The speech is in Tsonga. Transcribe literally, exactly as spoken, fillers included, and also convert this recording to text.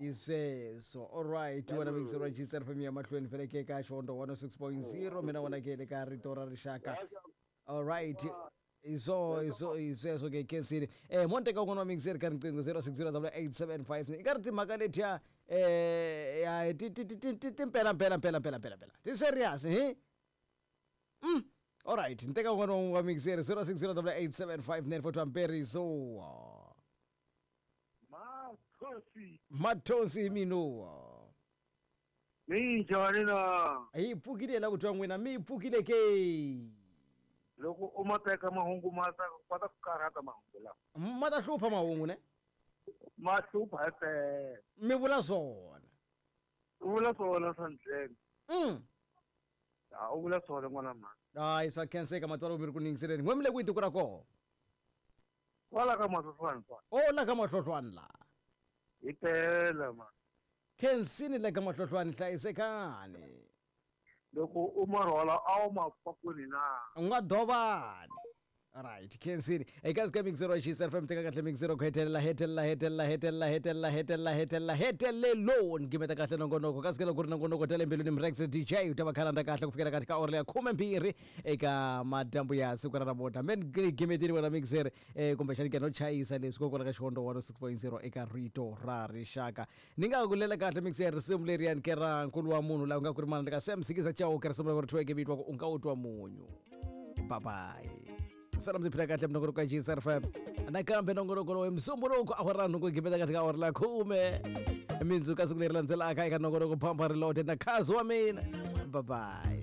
Hi sweswo. Alright, wena mixero G S F M ya mahlweni vele ke ka Xihondzo one oh six point zero mina wena ke le ka Rito ra Rixaka. Alright. Iso iso isweso ke khensini. Eh monte ka un'wana wa mixer ka riqingho zero six zero double eight seven five. I ka ri timhaka letiya eh ya ti ti ti ti ti mpela mpela mpela mpela mpela mpela. Ti serious he? Mm. Alright, nteka un'wana wa mixer zero six zero double eight seven five nine four two Mperiso. Mathosi. Mathosi mino. Minjhani na? Hi pfukile la ku twa n'wina, mi pfukile ke. Loko u ma teka mahungu ma ta kota ku karhata mahungu lawa. Ma ta hlupha mahungu ne? Ma hlupha himpela. Mi vula swona. U vula swona swa ndlela. Mm. Ha u vula swona n'wana mhani. Hayi swa khenseka matwalo mi ri ku ningiseleni. N'we mi le kwihi tiko ra koho? Kwala ka Mahlohlwana kwala. Oh la ka Mahlohlwana la. Himpela mhani. Khensini la ka Mahlohlwana hlayisekani. Loko u ma rhwala a wu ma pakwini na? U nga dovani. Alright, khensini. Eka ka mixero G S F M teka kahle mixero ku hetelela hetelela hetelela hetelela hetelela hetelela hetelela heteleloni gimeta kahle nongonoko kasi ke loko ku ri nongonoko tale mbilwini Mrex D J u ta va khalanda kahle ku fikela kahle ka ora ya khume mbirhi eka madyambu ya siku ra namuntlha. Men gimetini wena mixer eh kumbexani ke no chayisa leswi kokwala ka Xihondzo one oh six point zero eka Rito ra Rixaka. Ni nga ku lela kahle mixer risimu leriyani ke ra nkulu wa munhu laha ku nga ku ri mana ka Sam Sikiza Chauke risimu ra ku ri thyiweke vito wa ku u nga u twa munyu. Bye bye. Salam tiphina kahle nongonoko ka G S F M. Nakambe nongonoko lowu msumbuluko awara nhungu gimeta kahle ka awara la khume. Mindzuku ka siku leri landzelaka eka nongonoko Phampa Reloaded na khazi wa mina. Bye bye.